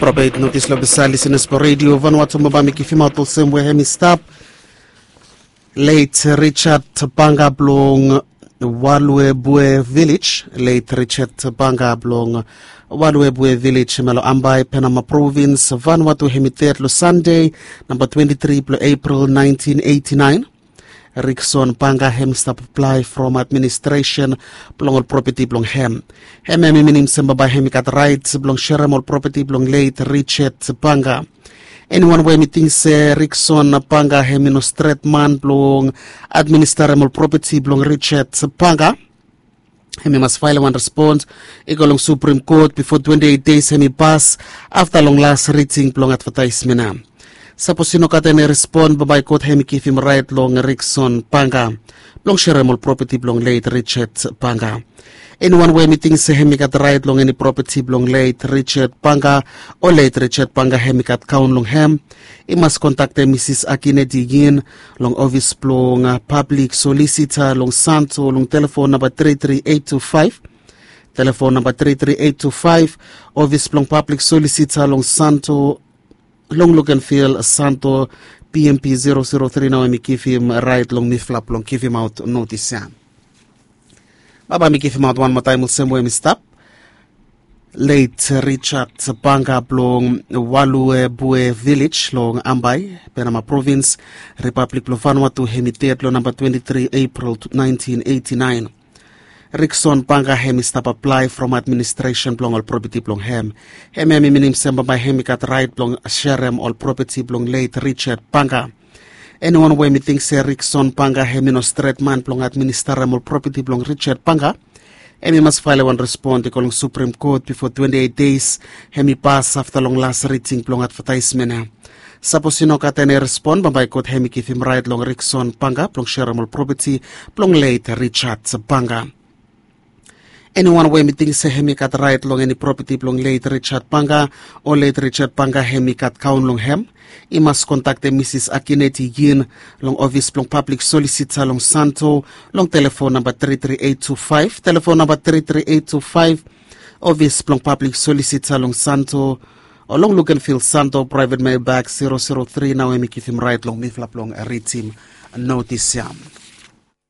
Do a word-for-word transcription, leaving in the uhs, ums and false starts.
Probeit notis long pesa lisenas blong redio Vanuatu, mo bae mi givimaot olsem we hem i stap. Leit Richard Panga blong Waluebue Village. Leit Richard Panga blong Waluebue Village, hem long Ambae, Penama Provins, Vanuatu, hem i ded long Sande, namba twenti tri blong Epril naentin eiti naen. Rikson Panga hem i stap aplae from administresen blong ol propeti blong hem. Hem hem i minim se bae hem i gat raet blong serem ol propeti blong leit Richard Panga. Eniwan we hem i ting se Rikson Panga hem i no stret man blong administarem ol propeti blong Richard Panga, hem i mas faelem wan respons i go long Supreme Kot bifo twenti eit deis hem i pas afta long las riding blong advetaesmen ya. Sapos i no gat eni respon, bae kot hem i givim raet long Rikson Panga blong serem ol propeti blong leit Richard Panga. Eniwan we hem i ting se hem i gat raet long eni propeti blong leit Richard Panga o leit Richard Panga hem i gat kaon long hem, i mas kontaktem Misis Akineti Yin long ofis blong pablik solisita long Santo long telefon namba tri tri eit tu faef. Telefon namba tri tri eit tu faef, ofis blong pablik solisita long Santo, long Lukenvil, Santo, P M P zero zero tri. Nao hem i givim raet long mifala blong givimaot notis ya. Bae mi givimaot wan moa taem olsem we hem i stap. Leit Richard Panga blong Waluebue Village long Ambae, Penama Provins, Ripablik blong Vanuatu, hem i ded long namba twenti tri Epril naentin eiti naen. Rikson Panga hem i stap aplae from administresen blong ol propeti blong hem. Hem hem i minim se bae hem i gat raet blong serem ol propeti blong leit Richard Panga. Eniwan we hem i ting se Rikson Panga hem i no stret man blong administarem ol propeti blong Richard Panga, hem i mas faelem wan respon i go long Supreme Kot bifo twenti eit deis hem i pas afta long las riding blong advetaesmen ya. Sapos i no gat eni respon, bae kot hem i givim raet long Rikson Panga blong serem ol propeti blong leit Richard Panga. Eniwan we hem i ting se hem i gat raet long eni propeti blong leit Richard Panga o leit Richard Panga hem i gat kaon long hem, i mas kontaktem Misis Akineti Yin long ofis blong pablik solisita long Santo long telefon namba tri tri eit tu faef, telefon namba tri tri eit tu faef, ofis blong pablik solisita long Santo, o long Lukenvil, Santo, praevet mailbag zero zero tri. Nao hem i givim raet long mifala blong ridim notis ya.